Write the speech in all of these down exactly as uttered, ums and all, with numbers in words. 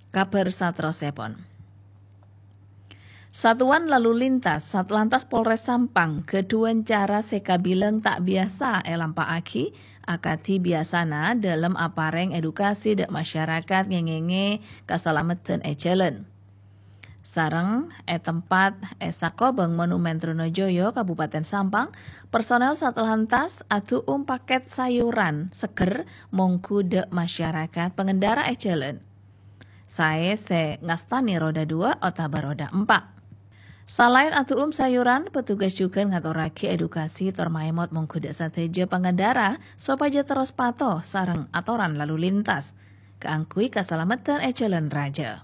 Kabhâr saterrossèpon. Satuan Lalu Lintas Satlantas Polres Sampang ghâdhuwân cara sè kabilang ta' biyasa èlampa'aghi, akadhi biyasana dhâlem aparèng edukasi dhâ' masyarakat ngèngèngè kasalameddhân è jhâlân. Sareng è tempat è sakobhâng Monumen Trunojoyo, Kabupaten Sampang, personel Satlantas adu'um pakèt sayuran seger mongghu dhâ' masyarakat pangendara è jhâlân. Saè sè ngastanè roda dua otabâ roda empa'. Salaèn adu'um sayuran, petugas jhughân ngatorraghi edukasi tor maèmot mongghu dhâ' sadhâjâ pangendara sopajâ terros pato sareng atoran lalu lintas kaangghuy kasalameddhân è jhâlân rajâ.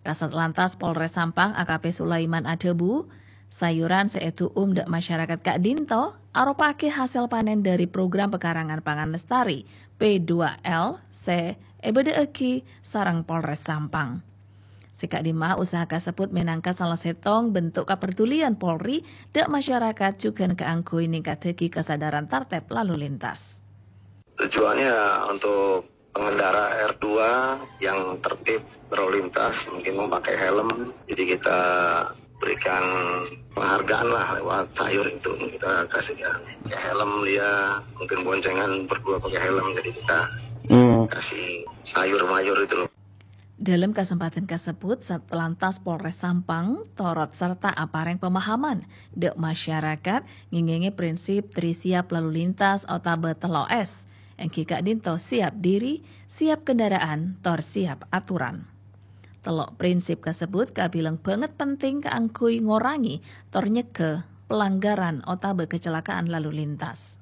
Kasatlantas Polres Sampang A K P Sulaiman adhâbu, sayuran sè èdu'um dhâ' masyarakat ka'dinto aropa'aghi hasèl panèn dhâri program pekarangan pangan lestari P dua L sè èbâdâ'aghi sareng Polres Sampang. Sè ka'dimma usaha kasebbhut mènangka sala sèttong bentuk kapardulian Polri dhâ' masyarakat jhughân kaangghuy ningkaddhâghi kasadhârân tartèb lalu lintas. Tujuannya untuk pengendara R dua yang tertib berlalu lintas, mungkin memakai helm. Jadi kita berikan penghargaan lah lewat sayur itu, kita kasih ya, pakai helm dia, mungkin boncengan berdua pakai helm, jadi kita kasih sayur mayur itu loh. Dhâlem kasempadhân kasebbhut, Satlantas Polres Sampang torot sarta aparèng pemahaman dhâ' masyarakat ngèngèngè prinsip Tri Siap Lalu Lintas otabâ tello S, èngghi ka'dinto siap diri, siap kendaraan, tor siap aturan. Tello' prinsip kasebbhut kabilang bângèt penting kaangghuy ngorangè tor nyegghâ pelanggaran otabâ kacelakaan lalu lintas.